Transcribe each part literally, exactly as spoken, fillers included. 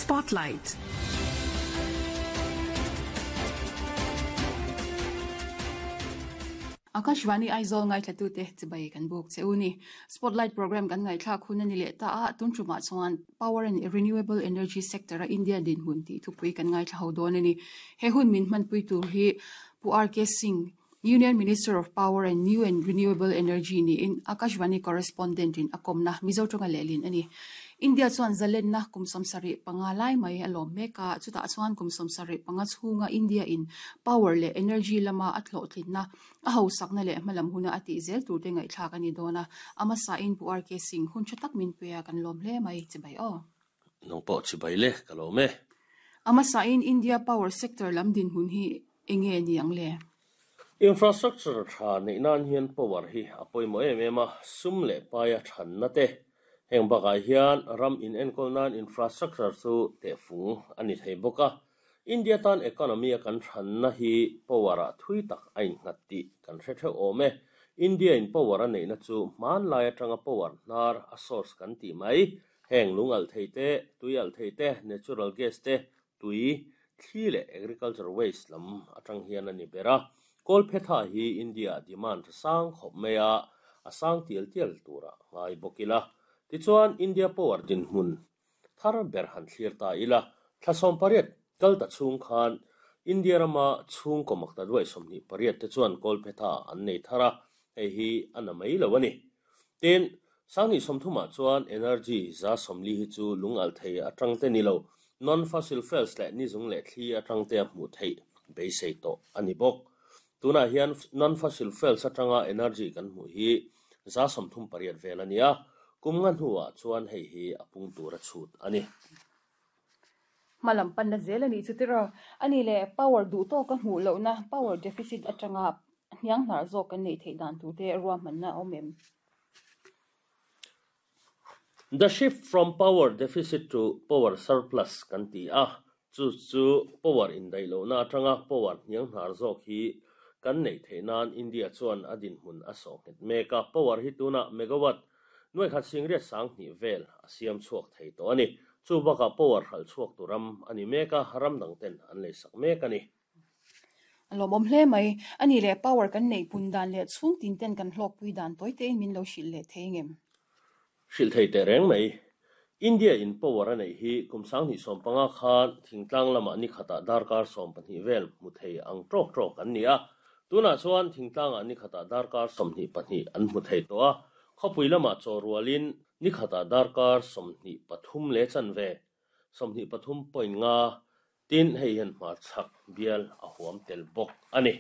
Spotlight. Akashvani Aizawl ngaithla te chibai kan buk che uni Spotlight program kan ngaithla khun ani le ta a tun thuma chuan Power and Renewable Energy Sector a India din hun ti thupui kan ngaithla ho don ani he hun min man pui tur hi Pu R K Singh Union Minister of Power and New and Renewable Energy ni in Akashvani correspondent in akomna Mizo tonga lelin ani India chuan zalen na kumsom sari panga lai mai alom meka chuta chuan kumsom sari panga chhunga India in power le energy lama athlo tlinna a ho sakna le hmalam huna ati zel tur te ngai thlak ani dona ama sa in Pu R K Singh hun chatak min peya kan lom hle mai chibai o nong po chibai le ka lome ama sa in India power sector lam din hun hi enge niang le Infrastructure tha nei nan hian power hi apoi mo em em a sum le paia than na te heng baka hian ram in enkol nan infrastructure chu te fung ani thei boka India tan economy a kan than na hi power a thui tak ain ngat ti kan hre theu ome India in power a nei na chu man lai atanga power nar a source kan ti mai heng lungal thei te tuial thei te natural gas te tui thli le agriculture waste lam atang hian ani bera kol phetha hi India demand sang khop meya asang tial tial tura ngai bokila ti chuan India power din hun thar ber han thlir ta ila thlasom pariat kal ta chung khan India rama chung komak ta duai somni pariat te chuan kol phetha an nei thara hei hi ana mai lo ani tin sangni somthuma chuan energy za somli hi chu lungal thei atang te ni lo non fossil fuels le ni zung le thli atang te hmu thei beisei to ani bok tuna hian non fossil fuels atanga energy kan hmu hi za somthum pariat velania kumngan huwa chuan hei hi apung tura chhut ani malam pan na zelani chutira ani le power du to ka hmu lo na power deficit atanga hniang hnar zo kan nei thei dan tu te ruwa man na omem The shift from power deficit to power surplus kan ti a chu chu power in dai lo na atanga power hniang hnar zo hi kan nei thei nan India chuan adin hun a so het meka power hi tuna megawatt nuai khat singriat sang ni vel a siam chuak thei to ani chu baka power hal chuak turam ani meka haram dang ten an lei sak mek ani lomom hle mai ani le power kan nei pun dan le chung tin ten kan hlok pui dan toi te min lo shil le theingem shil thei te reng mai India in power anei hi kumsang ni som panga khan thingtlang lama ni khata darkar som pahnih vel mu thei ang trok trok an ni a tuna chuan thingtlang ani khata darkar somhni pahnih an hmu thei to a khawpui lama chawrualin ni khata darkar somhni pathum le chanve somhni pathum point nga tin hei hian hmar chhak bial a huam tel bawk ani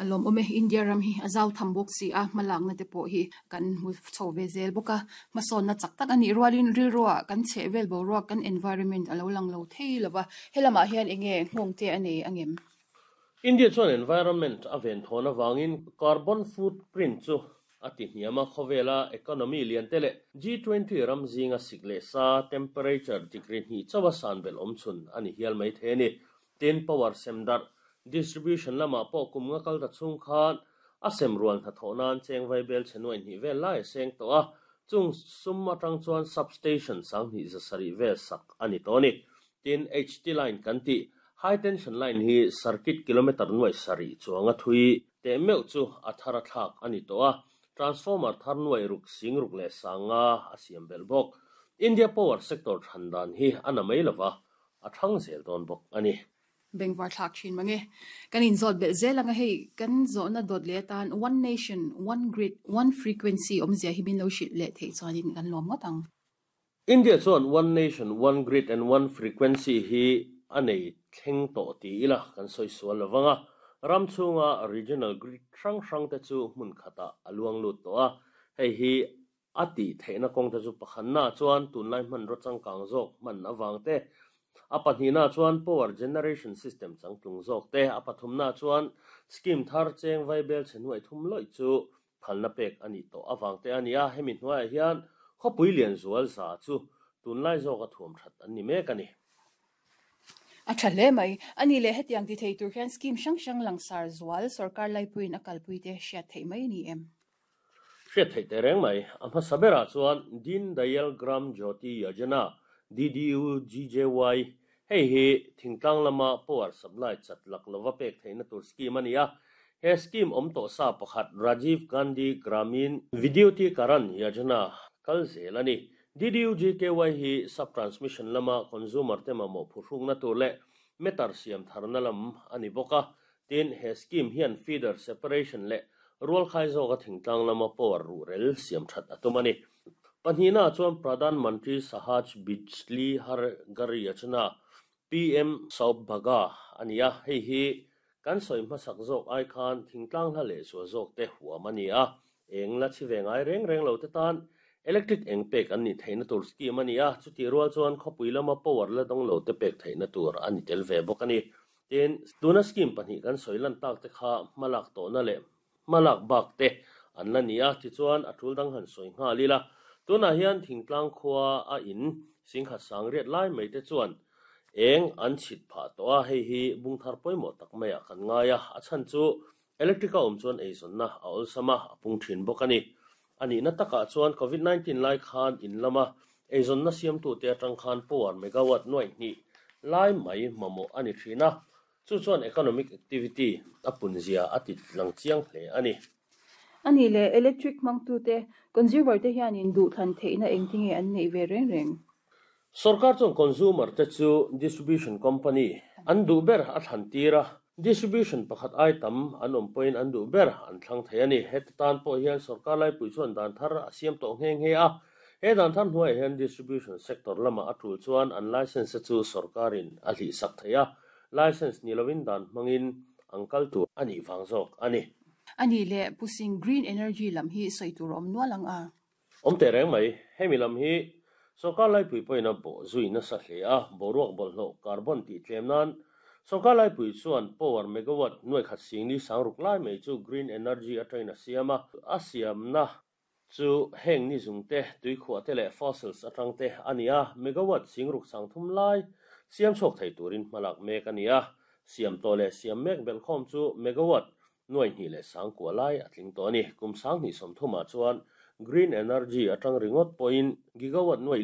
alom ome India ram hi azaw thambok si a malak na te po hi kan mu chho ve zel boka mason na chak tak ani rualin ril roa kan che vel bo roa kan environment alo lang lo thei lova helama hian enge nghong te ani angem India chuan environment a ven thona wangin carbon footprint chu ati hniama khawela economy lian tele G twenty ram zinga sikle sa temperature degree ni chawa san bel omchun ani hial mai the ni ten power semdar distribution lama po kumnga kal ta chung khan a sem rual tha thonan cheng vai bel chenoi ni vel lai seng to a chung sum atang chuan substation sang ni za sari vel sak ani to ni tin H T line kan ti high tension line hi circuit kilometer nuai sari chuanga thui te meu chu athara thak ani to a transformer thar nuai ruk sing ruk le sanga asiam bel bok India power sector thandan hi ana mai lova a thang zel don bok ani bengwar thak thin mange kan in zot bel zelanga hei kan zo na dot le tan one nation one grid one frequency omzia hi bin lo shit le thei chuanin kan lom ngotang India chuan one nation one grid and one frequency hi anei thleng to ti ila kan soi sual lawanga ram chunga regional grid hrang hrang te chu hmun khata aluang lut to a hei hi ati theina kong te chu pakhanna chuan tunlai hman ro changkang zawk hman awang te a pahnihna chuan power generation system changtlung zawk te a pathumna chuan scheme thar cheng vai bel chhenuai thum loi chu phalna pek ani to awang te ani a hemi hnuaiah hian khawpui lian zual za chu tunlai zawk a thuam that an ni mek ani a tha hle mai ani le hetiang ti thei tur hian scheme hrang hrang langsar zual sarkar laipuiin a kalpui te hriat theih mai ni em hriat theih te reng mai a hmasa berah chuan Din Dayal Gram Jyoti Yojana D D U G J Y hei hi thingtlang lama power supply chat lak lova pek theihna tur scheme ani a. He scheme awm tawh sa pakhat Rajiv Gandhi Gramin Vidyutikaran Yojana kal zel ani. D D U G K Y hi sub transmission lama consumer te mamawh phuhrukna tur leh meter siam tharna lam ani bawk a. Tin, he scheme hian feeder separation leh rual khai zawka thingtlang lama power ruhrel siam that a tum ani. Pahnihna chuan Pradhan Mantri Sahaj Bijli Har Ghar Yojana, P M Saubhaga ani a. Hei hi kan sawi hmasak zawk ai khan thingtlang hla leh zual zawk te huam ani a. Eng la chi ve ngai reng reng lo te tan electric eng pek an ni theihna tur scheme ani a. Chuti rual chuan khawpui lama power la dawng lo te pek theihna tur ani tel ve bawk ani. Tin, tuna scheme pahnih kan sawi lan tak te kha hmalak tawhna leh hmalak bak te an la ni a. Tichuan a tul dang han sawi nghal ila. Tunah hian thingtlang khua a in singkhat sang riat lai mai te chuan eng an chhit phah tawh a. Hei hi bungthar pawimawh tak mai ah kan ngai a. A chhan chu electric a awm chuan eizawnna a awlsam a, a pung thin bawk ani. Ani na takah chuan COVID nineteen lai khan in lama eizawnna siamtu te atang khan power megawatt nuai hnih lai mai mamawh ani thin a. Chu chuan economic activity a punzia a ti lang chiang hle ani. Ani le electric mangtu te consumer te hianin duh thlan theihna engtinge an nei ve reng reng? Sarkar chuan consumer te chu distribution company an duh ber a thlan tir a. Distribution pakhat ai tam an awm pawhin an duh ber an thlang thei ani. Heti tan pawh hian sarkar laipui chuan dan thar a siam tawh nghe nghe a. He dan thar hnuaiah hian distribution sector lama a tul chuan an license chu sarkarin a hlih sak thei a. License ni lovin dan hmangin an kal tur ani wang zawk ani. Ani le pusing, green energy lam hi sawi tur awm nual ang a? Awm teh reng mai. Hemi lam hi sarkar laipui pawhin a bawh zui nasa hle a. Boruak bawlhhlawh carbon tih tlem nan sarkar laipui chuan power megawatt nuai khat singli sangruk lai mai chu green energy atangin a siam a. A siamna chu heng ni zung te, tuikhuah te leh fossils atang te ani a. Megawatt singruk sangthum lai siam chhuak thei turin hmalak mek ani a. Siam tawh leh siam mek belkhawm chu megawatt nuai hnih leh sangkua lai a tling tawh ani. Kum sang hnih sawmthumah chuan green energy atang ringawt pawhin gigawatt nuai li.